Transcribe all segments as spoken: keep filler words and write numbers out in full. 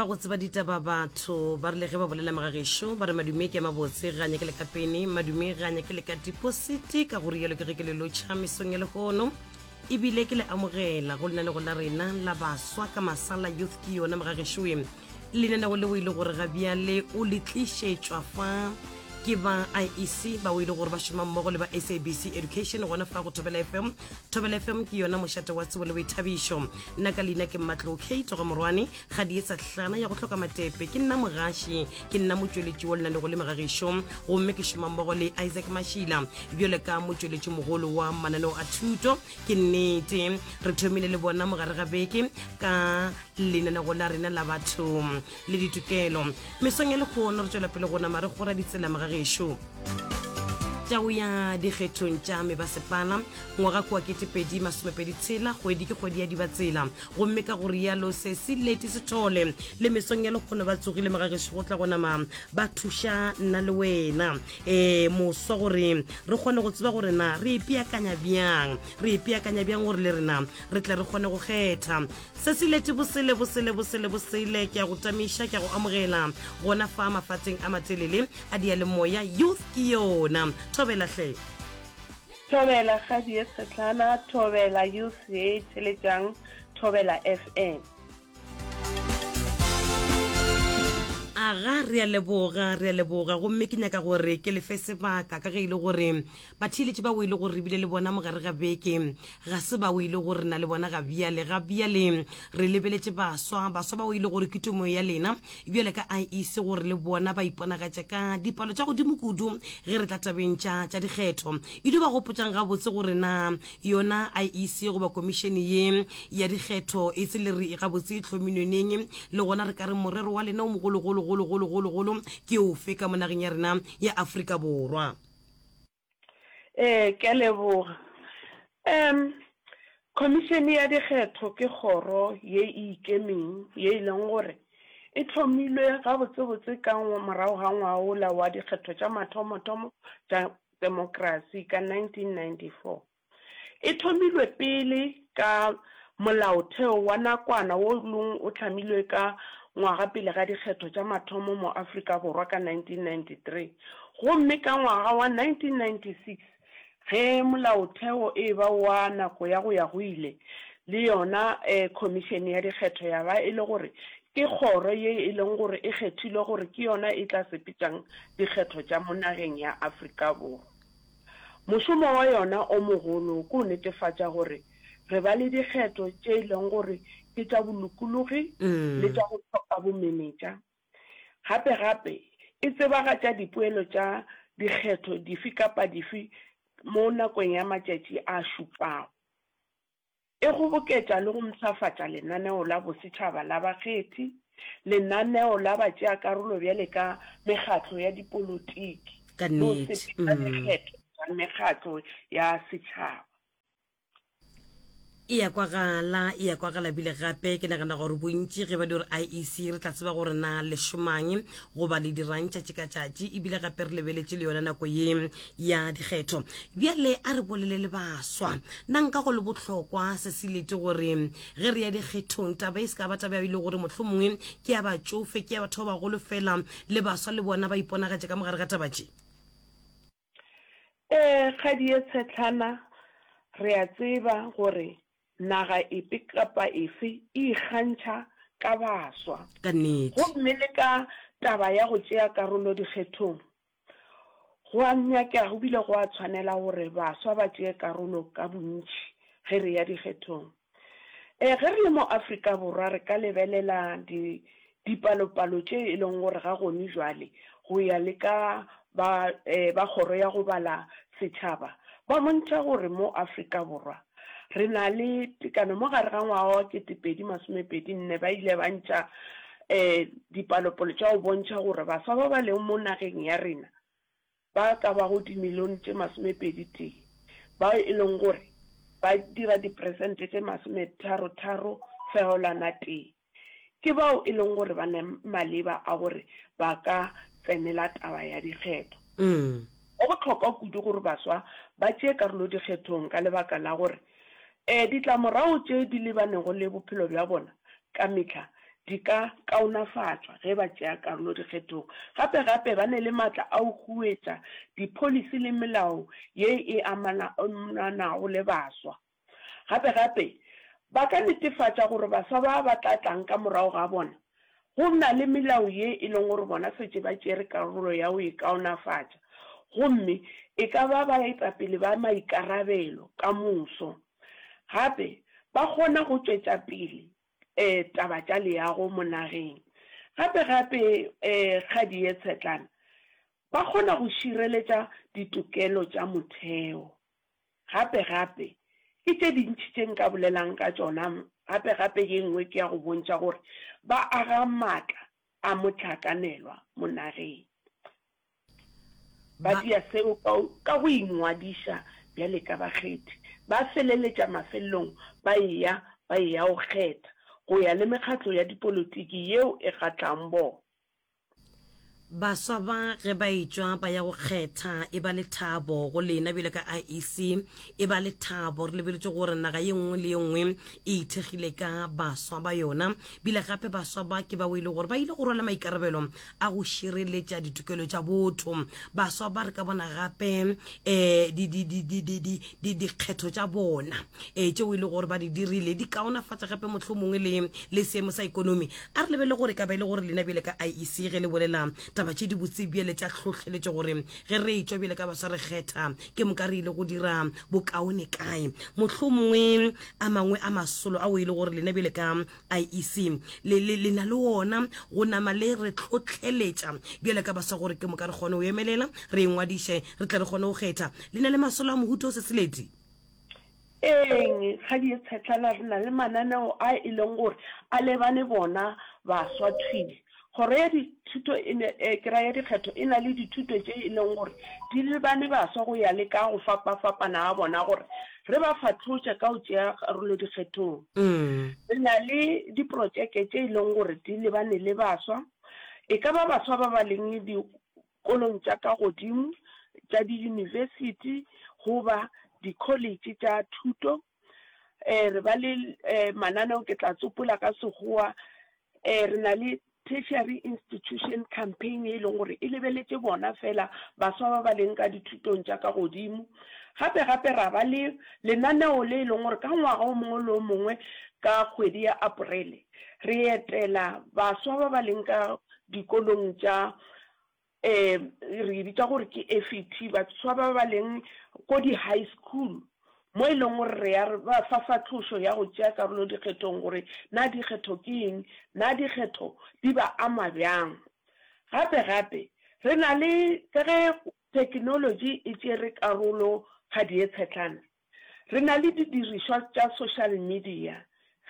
Ba go tseba ditaba batho ba rile ge ba bolela magagešo ba re madume ke a mabotse ga nyake le ka pene, madume ga nyake le ka depositi. Ka go rialo ke ge ke le lotšha mesong ya lehono ebile ke le amogela go lenanego la rena la baswa ka Masala Youth. Ke yona magagešoe lenanego leo e le gore ga bjale o le tlišetšwa fa ke ba I E C bao e le gore ba šoma mmogo le ba S A B C Education gona fa go Thobela F M. Thobela F M ke yona mošate wa tsebo le boithabišo. Nna ka leina ke Mmatlo K Toga Morwane ga di etsa hlana ya go hloka matepe. Ke nna mogaši, ke nna motšweletši wa lenanego le megagišo, gomme ke šoma mmogo le Isaac Mashila bjale ka motšweletši mogolo wa mananeo a thuto. Ke nnete re thomile le bona mogare ga beke ka lenanego la rena la batho le ditokelo. Mesong ya lekgono re tšwela pele go nama re kgora ditsela magagešo tša go ya dikgethong tša mebasepala ngwaga kua ketepedi masomepedi tshela. Kgwedi ke kgwedi ya dibatsela, gomme ka go rialo se se leti sethole le mesong ya lekgono ba tsogile magagešo go tla go nama ba thuša nna le wena um moswa gore re kgone go tseba gore na re ipeakanya bjang, re ipeakanya bjang gore le rena re tle re kgone go kgetha. Se se lete bosele bosele bosele bosele. Ke a go tamiša, ke a go amogela gona fa mafatšeng a matelele a diyalemoya. Youth ke yona. Thobela hle. Thobela kgadi ye tshetlana, thobela youth ye theletšang Thobela F M. Aga, re a leboga, re a leboga. Gomme ke nyaka gore ke lefe sebaka ka ge e le gore batheeletši ba o e le gore re bile le bona mogare ga beke ga se ba o e le gore na le bona ga bjale. Ga bjale re lebeletše baswa, baswa ba o e le gore ke tumo ya lena bjale ka I E C gore le bona ba iponagatše ka dipalo tša godimo kudu ge re tla tabeng tša tša dikgetho. E dio ba gopotšang gabotse gore na yona I E C goba komišene ye ya dikgetho e se le re gabotse e hlomilwe neng, le gona re ka re morero wa lena o mogologologologologologolo ke ofe ka mo nageng ya rena ya Afrika Borwa? Ee, ke a leboga. um Khomišene ya Dikgetho ke kgoro ye e ikemeng ye e leng gore e hlomilwe gabotsebotse ka morago ga ngwagola wa dikgetho tša mathomothomo tša demokrasi ka nineteen ninety-four. E thomilwe pele ka molaotheo wa nakwana wo leng o hlamilwe ka ngwaga pele ga dikgetho tša mathomo mo Afrika Borwa ka nineteen ninety-three, gomme ka ngwaga wa nineteen ninety-six ge molaotheo e ba wa nako ya go ya go ile, le yona um khomišene ya dikgetho ya ba e le gore ke kgoro ye e leng gore e kgethilwe gore ke yona e tla sepetšang dikgetho tša mo nageng ya Afrika Borwa. Mošomo wa yona o mogolo ke go netefatša gore re ba le dikgetho tše e leng gore ke tša bolokologi le tša go hloka bomenetša. Gape gape e tsebagatša dipoelo tša dikgetho dife kapa dife mo nakong ya matšatši a šupago. E kgoboketša le go mpshafatša lenaneo la bosetšhaba la bakgethi, lenaneo la batšeakarolo bjale ka mekgatlo ya dipolotiki ka le go nnete sepetša mm. dikgetho tša mekgatlo ya setšhaba. E ya kwagala, e ya kwagala. Bile gape ke nagana gore bontši ge ba di gore I E C re tla tseba gore na le šomang goba le dirang tšatši ka tšatši, ebile gape re lebeletše le yona nako ye ya dikgetho. Bjale a re bolele le baswa. Nna nka go le bohlokwa se se lete gore ge re ya dikgethong taba e se ka ba taba e le gore mohlomongwe ke ya batšofe, ke ya batho ba bagolo fela, le baswa le bona ba iponagatše ka mogare ga taba tše. Ee, kgadi ye tshetlana, re a tseba gore naga efe kapa efe e ikgantšha ka baswa. Ka nnete. Gomme le ka taba ya go tšea karolo dikgethong, go a nyakega go bile go a tshwanela gore baswa ba tšee karolo ka bontši ge re ya dikgethong. E ge re le mo Afrika Borwa re ka lebelela di dipalopalo tše e leng gore ga gone jwale go ya le ka ba eh, ba kgoro ya go bala setšhaba ba bontšha gore mo Afrika Borwa re na le tekano mo gare ga ngwaga wa ketepedi masomepedi nne ba ile ba ntšha um dipalopalo tša go bontšha gore baswa ba ba leng mo nageng ya rena ba ka bago dimilione tše masomepedi tee bao e leng gore ba dira diperesente tše masometharo-tharo fegelwana tee ke bao e leng gore ba ne maleba a gore ba ka tsenela taba ya dikgetho. mm. Go bohlokwa kudu gore baswa ba tšee karolo dikgethong ka lebaka la gore um ditlamorago tše di lebanego le bophelo bja bona ka mehla di ka kaonafatšwa ge ba tšea karolo dikgethong. Gape gape ba ne le matla a go huetša dipholisi le melao ye e amanago le baswa. Gape gape ba ka netefatša gore baswa ba ba tla tlang ka morago ga bona go na le melao ye e leng gore bona šetše ba tšere karolo ya go e kaonafatša, gomme e ka ba baetapele ba maikarabelo ka moso. Gape ba kgona go tšwetša pele um taba tša leago mo nageng. Gape gape um kgadi ye tshetlana, ba kgona go šireletša ditokelo tša motheo. Gape gape ke tše dintši tše nka bolelang ka tšona. Gape gape ye nngwe ke ya go bontšha gore ba aga maatla a mohlakanelwa mo nageng. Ba dia seo ka go ingwadiša bjale ka bakgethi. Ba feleletša mafelelong ba eya ba eya go kgetha go ya le mekgatlo ya dipolotiki yeo e kgahlang bona. Baswa ba ge ba etšwa ba ya go kgetha e ba lethabo go lena bjalo ka I E C, e ba lethabo re lebeletše gore naga ye nngwe le ye nngwe e ithekgile ka baswa ba yona, bile gape baswa ba ke bao e le gore ba ile go rwala maikarabelo a go šireletša ditokelo tša botho. Baswa ba re ka bona gape um dikgetho tša bona um tšeo e le gore ba di dirile di kaonafatša gape mohlomongwe le le seemo sa ikonomi. A re lebelele gore ka ba e le gore lena bjale ka I E C ge le bolela taba tše di botse bjale tša hlohleletšo gore ge re etšwa bjale ka baswa re kgetha ke moka re ile go dira bokaone kae, mohlomongwe a mangwe a masolo ao e le gore lena bjale ka I E C le, le, le na le ona go nama le re hlohleletša bjale ka baswa gore ke moka re kgone go emelela re ingwadiše re tle re kgone go kgetha. Le na le masolo a mohuta o se seledi? Eng kgadi ye tshetlana, re na le mananeo a e leng gore a lebane bona baswa thwi. Kgoro ya dithuto e ne, eh, ke ra ya dikgetho e na le dithuto tše e leng gore di lebane baswa go ya le ka go fapafapana ga bona gore re ba fatlhotše ka go tšea karolo dikgethong. Mm. Re na le diprotšeke tše e leng gore di lebane le baswa, e ka ba baswa ba ba leng dikolong tša ka godimo tša diyunibesithi goba di-college tša thuto. Eh, re ba le eh, mananeo ke tla tsopola ka sekgowa. Eh, re na le tertiary institution campaign e leng gore e lebeletše bona fela baswa ba ba leng ka dithutong tša ka godimo. Gape gape ra ba le lenaneo le e leng gore ka ngwaga o mongwe le o mongwe ka kgwedi ya Aprele re etela baswa ba ba leng ka dikolong tša um re bitša gore ke F E T, baswa ba ba leng ko di-high school, mo e leng gore re ya re ba fa fatlhošo ya go tšea karolo dikgethong gore na dikgetho ke eng, na dikgetho di ba ama bjang. Gape gape re na le ka ge technology e tšere karolo kgadi ye tshetlana, re na le didirišwa tša social media,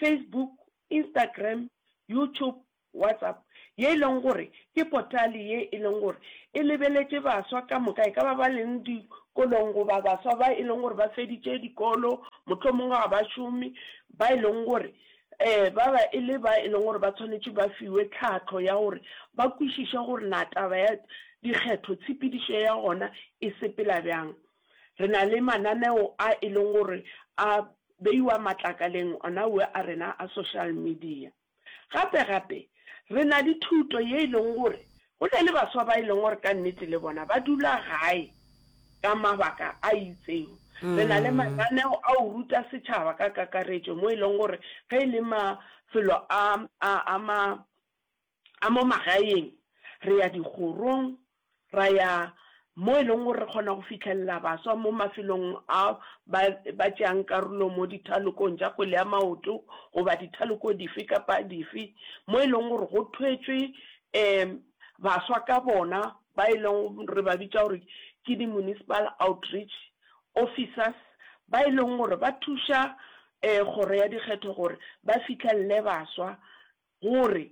Facebook, Instagram, YouTube, WhatsApp, ye e leng gore ke portale ye e leng gore e lebeletše baswa ka moka, e ka ba ba leng dikolong goba baswa ba e leng gore ba feditše dikolo, mohlomongwe ga ba šome, ba e leng gore um ba ba e le ba e leng gore ba tshwanetše ba fiwe tlhahlo ya gore ba kwešiše gore na taba ya dikgetho tshepedišo ya gona e sepela bjang. Re na le mananeo a e leng gore a beiwa matlakaleng ona we a rena a social media. Gape gape re na le thuto ye e leng gore go na le baswa ba e leng gore ka nnete le bona ba dula gae ka mabaka a itseng. Re na le mananeo a go ruta setšhaba ka kakaretšo mo e leng gore ge e le mafelo a, a, a, ma, a mo magaeng, re ya dikgorong, ra ya mo e leng gore re kgona go fihlelela baswa mo mafelong a ba, ba tšeang karolo mo dithalokong tša kgwele ya maoto goba dithaloko dife kapa dife, mo e leng gore go thwetšwe um baswa ka bona ba e leng re ba bitša gore ke di-municipal outreach officers, ba e leng gore ba thuša um kgoro ya dikgetho gore ba fihlelele baswa gore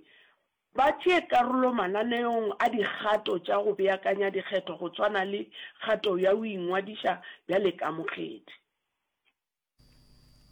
ba tšee karolo mananeong a dikgato tša go beakanya dikgetho go tshwana le kgato ya go ingwadiša bjale ka mokgethi.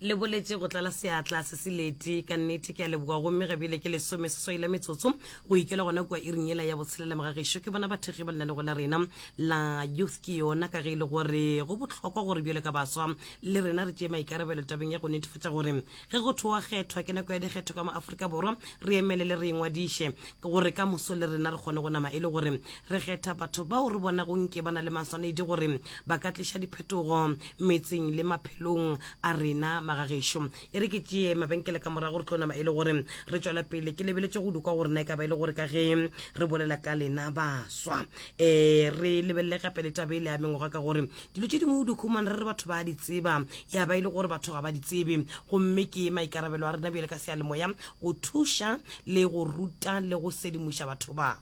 Le boletše go tlala seatla se se leti ka nnete. Ke a leboga. Gomme ga bjale ke lesome seswai la metsotso go ikela gona kua iring yela ya botshelela. Mogagešo ke bona bathekgi ba lenanego la rena la Youth Ke Yona, ka ge e le gore go bohlokwa gore bjalo ka baswa le rena re tšee maikarabelo tabeng ya go netefatša gore ge go thowa kgethwa ke nako ya dikgetho ka mo Afrika Borwa, re emelele re ingwadiše gore ka moso le rena re kgone go nama e le gore re kgetha batho bao re bonago nke ba na le maswanedi gore ba ka tliša diphetogo metseng le maphelong a rena. Magagešo, e re ke tšee mabenkele ka morago re tlo nama e le gore re tšwela pele. Ke lebeletše go dukwa gore na e ka ba e le gore ka ge re bolela ka lena baswa, um re lebelele gape le taba ele ya mengwaga, ka gore dilo tše dingwe o di khumana re re batho ba di tseba, ya ba e le gore batho ga ba di tsebe. Gomme ke maikarabelo a rena bjale ka seyalemoya go thuša le go ruta le go sedimoša batho ba.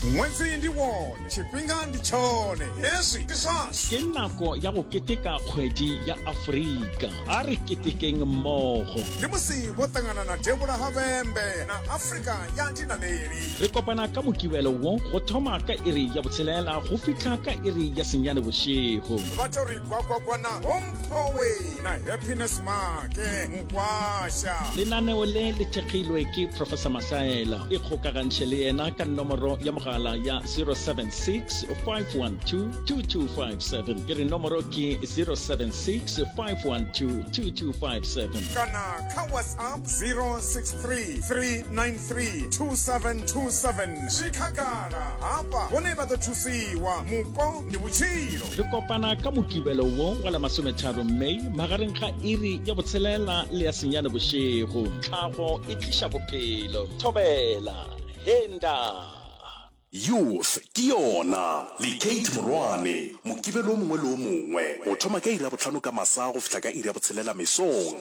Ṅwedzi ndi wone, tshifhinga ndi tshone, hezwi ndi zwashu. Ke nako ya go keteka kgwedi ya Afrika. A re ketekeng mmogo. Ndi musi vho ṱangana na Devhula ha Vhembe na Afrika ya Dinaleli. Re kopana ka Mokibelo wo go thoma ka iri ya botshelela go fihla ka iri ya senyane bošego. Vha to ri gwagwagwa na Homphowe na Happiness Make Mukwasha. Lenaneo le le thekgilwe ke Professor Masaela. Ikgokagantšhe le yena ka nomoro ya mogala ya zero seven six, five one two, two two five seven. Ke re nomoro ke zero seven six, five one two, two two five seven. Kana kha WhatsApp zero six three, three nine three, two seven two seven. Zwi khagala hafha vhone vha ḓo thusiwa, mupo ndi vhutshilo. Re kopana ka Mokibelo wo wa la masometharo May magareng ga iri ya botshelela le ya senyane bošego. Tlhago e tliša bophelo. Thobela henda. Youth Ke Yona le Kate Morwane, Mokibelo o mongwe le o mongwe go thoma ka iri ya bohlano ka masa go fihla ka iri ya botshelela mesong.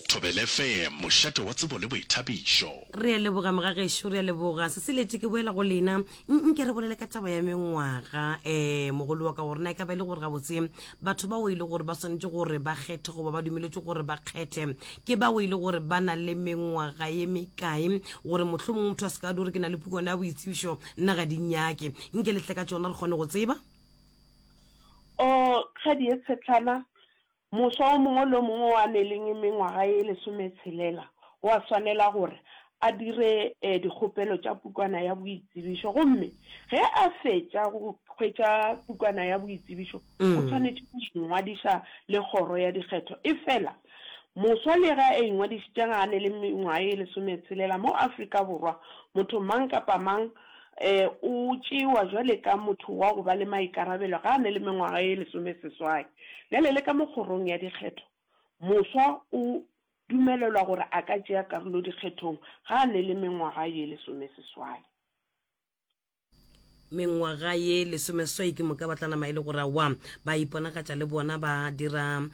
Thobela F M, mošate wa tsebo le boithabišo. Re a leboga mogagešo, re a leboga seseletše. Ke boela go lena, nke re bolele ka taba ya mengwaga, um mogolo wa ka, gore na e ka ba e le gore gabotse batho bao e le gore ba swanetše gore ba kgethe goba ba dumeletše gore ba kgethe ke bao e le gore ba na le mengwaga ye mekae, gore mohlomongwe motho a se ka di gore ke na le pukwana ya boitsebišo, nna ga di nyake. Nke letle ka tsona re kgone go tseba. O kgadi e tshetlana, moswa o mongwe le o mongwe wa neleng mengwaga e lesometshelela o a swanela gore a dire um dikgopelo tša pukwana ya boitsebišo, gomme ge a fetša go hwetša pukwana ya boitsebišo o tshwanetše go ingwadiša le kgoro ya dikgetho. E fela moswa le ge a ingwadišitše ga a ne le mengwaga e lesometshelela, mo Afrika Borwa motho mang kapa mang um o tšewa jwale ka motho wa go ba le maikarabelo ga a ne le mengwaga e lesomeseswai. Bjale le ka mo kgorong ya dikgetho moswa o dumelelwa gore a ka tšea karolo dikgethong ga a ne le mengwaga ye lesomeseswai. Mengwaga ye lesomeswai, ke moka ba tla nama e le gore aowa ba iponagatša le bona ba dira um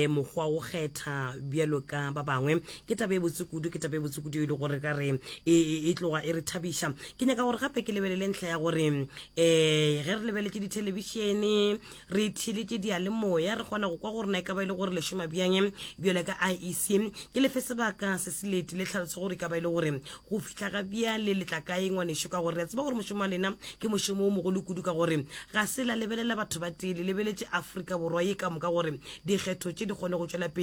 mokgwa go kgetha bjalo ka ba bangwe. Ke taba e botse kudu, ke taba e botse kudu e le gore ka re e, e, e tloga e re thabiša. Ke nyaka gore gape ke lebelele ntlha ya gore um ge re lebeletše dithelebišene, re theletše diyalemoya, re kgona go kwa gore na e ka ba e le gore le šoma bjang bjalo ka I E C. Ke lefe sebaka se se lete le tlhaloso gore e ka ba e le gore go fihla ga bjale le tla kae, ngwanešo, ka gore re a tseba gore mošomo wa lena ke mošomo o mogolo kudu, ka gore ga se la lebelela batho ba tee, le lebeletše Afrika Borwa ye ka moka gore dikgetho tše di kgone go tšwela pele.